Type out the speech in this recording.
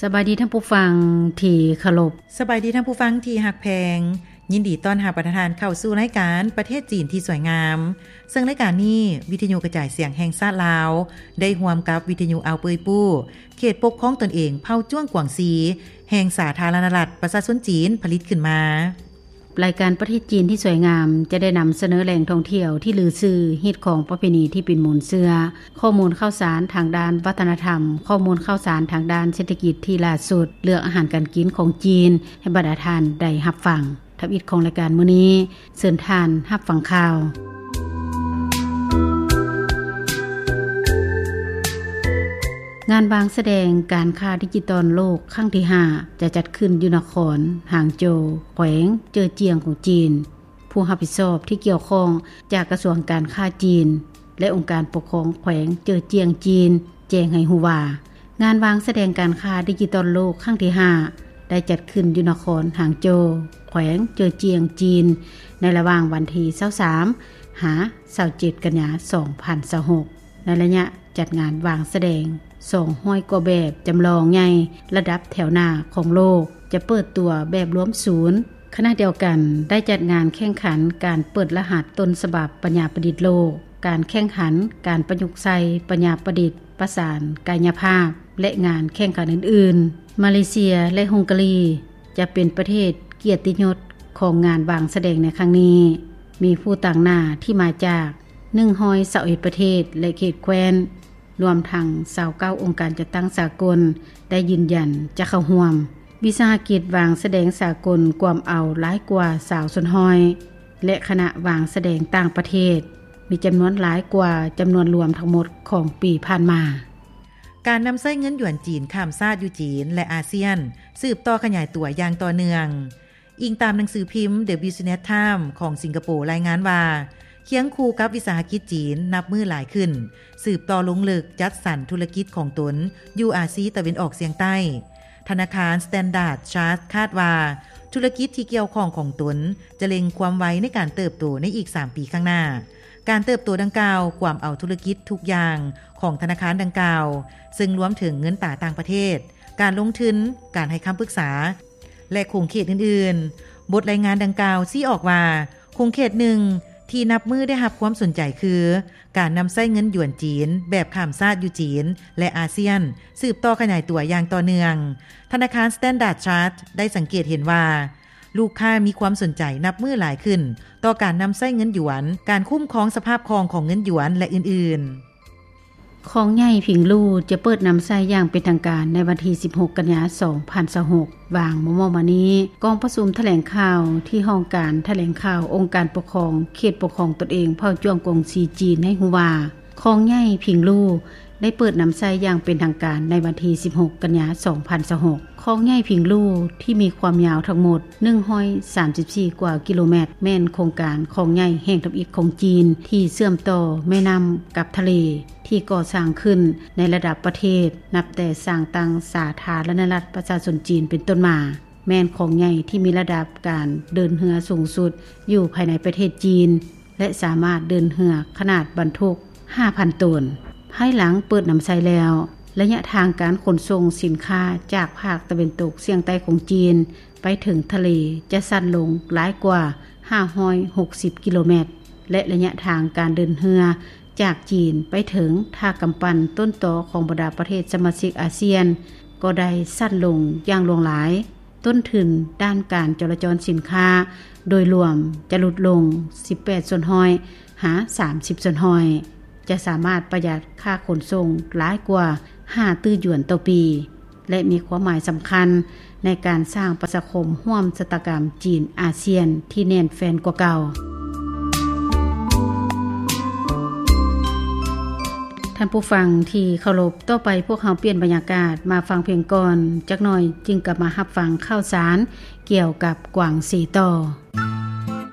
ສະບາຍດີທ່ານຜູ້ຟັງທີ່ເຄົາລົບ. ສະບາຍດີທ່ານຜູ້ຟັງທີ່ຮັກແພງ. ຍິນດີຕ້ອນຮັບບັນດາທ່ານເຂົ້າສູ່ລາຍການປະເທດຈີນທີ່ສວຍງາມ. ເຊິ່ງລາຍການນີ້ ວິທະຍຸກະຈາຍສຽງແຫ່ງຊາດລາວ ໄດ້ຮ່ວມກັບວິທະຍຸອາວເປີຍປູ້ ເຂດປົກຄອງຕົນເອງເຜົ່າຈ້ວງກວາງຊີ ແຫ່ງສາທາລະນະລັດປະຊາຊົນຈີນ ຜະລິດຂຶ້ນມາ. ລາຍການປະເທດຈີນທີ່ສວຍງາມ ຈະໄດ້ນຳສະເໜີແຫຼ່ງທ່ອງທ່ຽວທີ່ລືຊື່, ຮີດຄອງປະເພນີທີ່ເປັນມູນເຊື້ອ, ຂໍ້ມູນຂ່າວສານທາງດ້ານວັດທະນະທຳ, ຂໍ້ມູນຂ່າວສານທາງດ້ານເສດຖະກິດທີ່ຫຼ້າສຸດ, ເລື່ອງອາຫານການກິນຂອງຈີນ ໃຫ້ບັນດາທ່ານໄດ້ຮັບຟັງ. ທຳອິດຂອງລາຍການມື້ນີ້, ເຊີນທ່ານຮັບຟັງຂ່າວ. ງານວາງສະແດງການຄ້າດິຈິຕອນໂລກຄັ້ງທີຫ້າ ຈະຈັດຂຶ້ນຢູ່ນະຄອນຫາງໂຈວ, ແຂວງເຈີຈຽງຂອງຈີນ. ຜູ້ຮັບຜິດຊອບທີ່ກ່ຽວຂ້ອງຈາກກະຊວງການຄ້າຈີນ ແລະ ອົງການປົກຄອງແຂວງເຈີຈຽງຈີນ ແຈ້ງໃຫ້ຮູ້ວ່າ, ງານວາງສະແດງການຄ້າດິຈິຕອນໂລກຄັ້ງທີຫ້າ ໄດ້ຈັດຂຶ້ນຢູ່ນະຄອນຫາງໂຈວ, ແຂວງເຈີຈຽງຈີນ ໃນລະຫວ່າງວັນທີຊາວສາມ ຫາ ຊາວເຈັດ ກັນຍາ ສອງພັນຊາວຫົກ. ໃນໄລຍະຈັດງານວາງສະແດງ ສອງຮ້ອຍກວ່າແບບຈຳລອງໃຫຍ່ລະດັບແຖວໜ້າຂອງໂລກ ຈະເປີດຕົວແບບລວມສູນ. ຂະນະດຽວກັນ ໄດ້ຈັດງານແຂ່ງຂັນການເປີດລະຫັດຕົ້ນສະບັບປັນຍາປະດິດໂລກ, ການແຂ່ງຂັນການປະຍຸກໃຊ້ປັນຍາປະດິດປະສານກາຍຍະພາບ ແລະ ງານແຂ່ງຂັນອື່ນໆ. ມາເລເຊຍ ແລະ ຮົງກາຣີ ຈະເປັນປະເທດກຽດຕິຍົດຂອງງານວາງສະແດງໃນຄັ້ງນີ້. ມີຜູ້ຕາງໜ້າທີ່ມາຈາກ ໜຶ່ງຮ້ອຍຊາວເອັດປະເທດ ແລະ ເຂດແຄວ້ນ, ລວມທັງຊາວເກົ້າອົງການຈັດຕັ້ງສາກົນ ໄດ້ຢືນຢັນຈະເຂົ້າຮ່ວມ. ວິສາຫະກິດວາງສະແດງສາກົນກວມເອົາຫຼາຍກວ່າຊາວສ່ວນຮ້ອຍ ແລະ ຄະນະວາງສະແດງຕ່າງປະເທດ ມີຈຳນວນຫຼາຍກວ່າຈຳນວນລວມທັງໝົດຂອງປີຜ່ານມາ. ການນຳໃຊ້ເງິນຢວນຈີນຂ້າມຊາດຢູ່ຈີນ ແລະ ອາຊຽນ ສືບຕໍ່ຂະຫຍາຍຕົວຢ່າງຕໍ່ເນື່ອງ. ອີງຕາມໜັງສືພິມ The Business Times ຂອງສິງກະໂປ ລາຍງານວ່າ, ຄຽງຄູ່ກັບວິສາຫະກິດຈີນນັບມື້ຫຼາຍຂຶ້ນ, ສືບຕໍ່ລົງເລິກຈັດສັນທຸລະກິດຂອງຕົນຢູ່ອາຊີຕາເວັນອອກສ່ຽງໃຕ້. ທະນາຄານ Standard Chartered ຄາດວ່າ ທຸລະກິດທີ່ກ່ຽວຂ້ອງຂອງຕົນຈະເລັ່ງຄວາມໄວໃນການເຕີບໂຕໃນອີກສາມປີຂ້າງໜ້າ. ການເຕີບໂຕດັ່ງກ່າວກວມເອົາທຸລະກິດທຸກຢ່າງຂອງທະນາຄານດັ່ງກ່າວ, ເຊິ່ງລວມເຖິງເງິນຕາຕ່າງປະເທດ, ການລົງທຶນ, ການໃຫ້ຄຳປຶກສາ ແລະ ຂົງເຂດອື່ນໆ. ບົດລາຍງານດັ່ງກ່າວຊີ້ອອກວ່າ, ຂົງເຂດໜຶ່ງທີ່ນັບມື້ໄດ້ຮັບຄວາມສົນໃຈຄື ການນຳໃຊ້ເງິນຢວນຈີນແບບຂ້າມຊາດຢູ່ຈີນ ແລະ ອາຊຽນ ສືບຕໍ່ຂະຫຍາຍຕົວຢ່າງຕໍ່ເນື່ອງ. ທະນາຄານ Standard Chartered ໄດ້ສັງເກດເຫັນວ່າ ລູກຄ້າມີຄວາມສົນໃຈນັບມື້ຫຼາຍຂຶ້ນຕໍ່ການນຳໃຊ້ເງິນຢວນ, ການຄຸ້ມຄອງສະພາບຄ່ອງຂອງເງິນຢວນ ແລະ ອື່ນໆ. ຄອງໃຫຍ່ຜິງລູຈະເປີດນຳໃຊ້ຢ່າງເປັນທາງການໃນວັນທີສິບຫົກ ກັນຍາ ສອງພັນຊາວຫົກ. ຫວ່າງມໍ່ໆມານີ້, ກອງປະຊຸມຖະແຫຼງຂ່າວທີ່ຫ້ອງການຖະແຫຼງຂ່າວອົງການປົກຄອງເຂດປົກຄອງຕົນເອງເຜົ່າຈ້ວງກວາງຊີຈີນໃຫ້ຮູ້ວ່າ, ຄອງໃຫຍ່ຜິງລູໄດ້ເປີດນຳໃຊ້ຢ່າງເປັນທາງການໃນວັນທີສິບຫົກ ກັນຍາ ສອງພັນຊາວຫົກ. ຄອງໃຫຍ່ຜິງລູທີ່ມີຄວາມຍາວທັງໝົດໜຶ່ງຮ້ອຍສາມສິບສີ່ກວ່າກິໂລແມັດ ແມ່ນໂຄງການຄອງໃຫຍ່ແຫ່ງທຳອິດຂອງຈີນທີ່ເຊື່ອມຕໍ່ແມ່ນ້ຳກັບທະເລ ທີ່ກໍ່ສ້າງຂຶ້ນໃນລະດັບປະເທດ ນັບແຕ່ສ້າງຕັ້ງສາທາລະນະລັດປະຊາຊົນຈີນເປັນຕົ້ນມາ, ແມ່ນຄອງໃຫຍ່ທີ່ມີລະດັບການເດີນເຮືອສູງສຸດຢູ່ພາຍໃນປະເທດຈີນ ແລະ ສາມາດເດີນເຮືອຂະໜາດບັນທຸກຫ້າພັນໂຕນ. ພາຍຫຼັງເປີດນຳໃຊ້ແລ້ວ, ໄລຍະທາງການຂົນສົ່ງສິນຄ້າຈາກພາກຕາເວັນຕົກສ່ຽງໃຕ້ຂອງຈີນໄປເຖິງທະເລຈະສັ້ນລົງຫຼາຍກວ່າຫ້າຮ້ອຍຫົກສິບກິໂລແມັດ ແລະ ໄລຍະທາງການເດີນເຮືອຈາກຈີນໄປເຖິງທ່າກຳປັ່ນຕົ້ນຕໍຂອງບັນດາປະເທດສະມາຊິກອາຊຽນກໍໄດ້ສັ້ນລົງຢ່າງຫຼວງຫຼາຍ. ຕົ້ນທຶນດ້ານການຈໍລະຈອນສິນຄ້າໂດຍລວມຈະຫຼຸດລົງສິບແປດສ່ວນຮ້ອຍ ຫາ ສາມສິບສ່ວນຮ້ອຍ, ຈະສາມາດປະຢັດຄ່າຂົນສົ່ງຫຼາຍກວ່າຫ້າຕື້ຢວນຕໍ່ປີ ແລະ ມີຄວາມໝາຍສຳຄັນໃນການສ້າງປະຊາຄົມຮ່ວມຊະຕາກຳຈີນອາຊຽນທີ່ແໜ້ນແຟ້ນກວ່າເກົ່າ. ທ່ານຜູ້ຟັງທີ່ເຄົາລົບ, ຕໍ່ໄປພວກເຮົາປ່ຽນບັນຍາກາດມາຟັງເພງກ່ອນຈັກໜ່ອຍ, ຈຶ່ງກັບມາຮັບຟັງຂ່າວສານກ່ຽວກັບກວາງຊີຕໍ່.